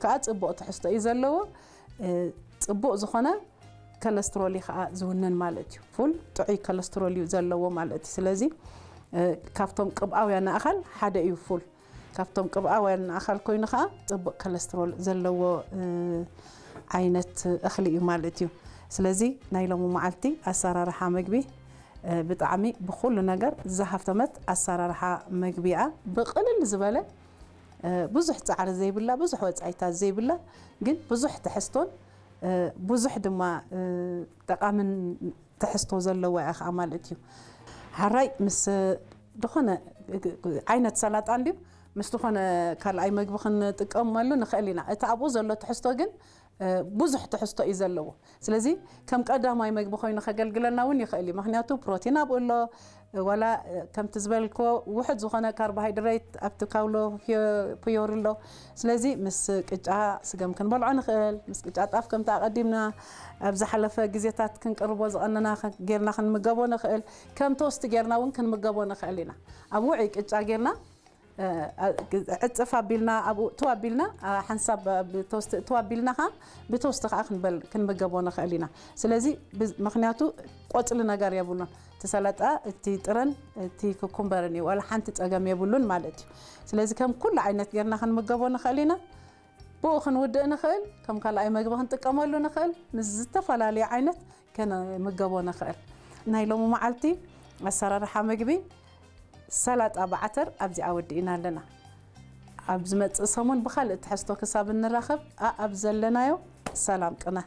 ከዓ ጽቡቕ ትሕዝቶ እዩ ዘለዎ። ጽቡቕ ዝኾነ ኮለስትሮል እዩ ከዓ ዝውንን ማለት እዩ። ፉል ጥዑይ ኮለስትሮል እዩ ዘለዎ ማለት እዩ። ስለዚ ካብቶም ቅብኣውያን ኣእኻል ሓደ እዩ ፉል። ካብቶም ቅብኣውያን ኣእኻል ኮይኑ ከዓ ጽቡቕ ኮለስትሮል ዘለዎ ዓይነት እኽሊ እዩ ማለት እዩ። ስለዚ ናይ ሎሚ መዓልቲ ኣሰራርሓ መግቢ ብጣዕሚ ብኹሉ ነገር ዝሃፍተመት ኣሰራርሓ መግቢ እያ። ብቕልል ዝበለ ብዙሕ ጻዕሪ ዘይብላ፣ ብዙሕ ወጻኢታት ዘይብላ፣ ግን ብዙሕ ትሕዝቶን ብዙሕ ድማ ጠቓምን ትሕዝቶ ዘለዋ እያ ከዓ ማለት እዩ። ሓራይ ምስ ዝኾነ ዓይነት ሰላጣ እንድዩ ምስ ዝኾነ ካልኣይ መግቢ ክንጥቀመሉ ንኽእል ኢና። እቲ ኣብኡ ዘሎ ትሕዝቶ ግን ብዙሕ ትሕዝቶ እዩ ዘለዎ። ስለዚ ከም ቀዳማይ መግቢ ኮይኑ ከገልግለና እውን ይኽእል እዩ። ምክንያቱ ፕሮቲን ኣብኡ ኣሎ፣ ዋላ ከምቲ ዝበልክዎ ውሑድ ዝኾነ ካርቦሃይድሬት ኣብቲ ካውሎ ፕዮር ኣሎ። ስለዚ ምስ ቅጫ ስገም ክንበልዖ ንኽእል፣ ምስ ቅጫ ጣፍ ከምቲ ኣቐዲምና ኣብ ዝሓለፈ ግዜታት ክንቅርቦ ዝቐነና ጌርና ክንምገቦ ንኽእል፣ ከም ቶስት ጌርና እውን ክንምገቦ ንኽእል ኢና። ኣብ ውዑይ ቅጫ ጌርና ዕፅፍ ኣቢልና ኣብኡ እትው ኣቢልና ሓንሳብ ብቶስት እትው ኣቢልና ከዓ ብቶስት ከዓ ክንበል ክንምገቦ ንኽእል ኢና። ስለዚ ምክንያቱ ቆፅሊ ነገር የብሉን። እቲ ሰላጣ እቲ ጥረን እቲ ክኩምበርን እዩ፣ ዋላ ሓንቲ ፀገም የብሉን ማለት እዩ። ስለዚ ከም ኩሉ ዓይነት ጌርና ክንምገቦ ንኽእል ኢና። ብኡ ክንውድእ ንኽእል፣ ከም ካልኣይ መግቢ ክንጥቀመሉ ንኽእል፣ ምስ ዝተፈላለዩ ዓይነት ከነምገቦ ንኽእል። ናይ ሎሚ መዓልቲ ኣሰራርሓ መግቢ ሰላጣ ብዓተር ኣብዚኣ ወዲእና ኣለና። ኣብ ዝመጽእ ሰሙን ብኻልእ ትሕዝቶ ክሳብ እንራኸብ ኣኣብ ዘለናዮ ሰላም ቅነ።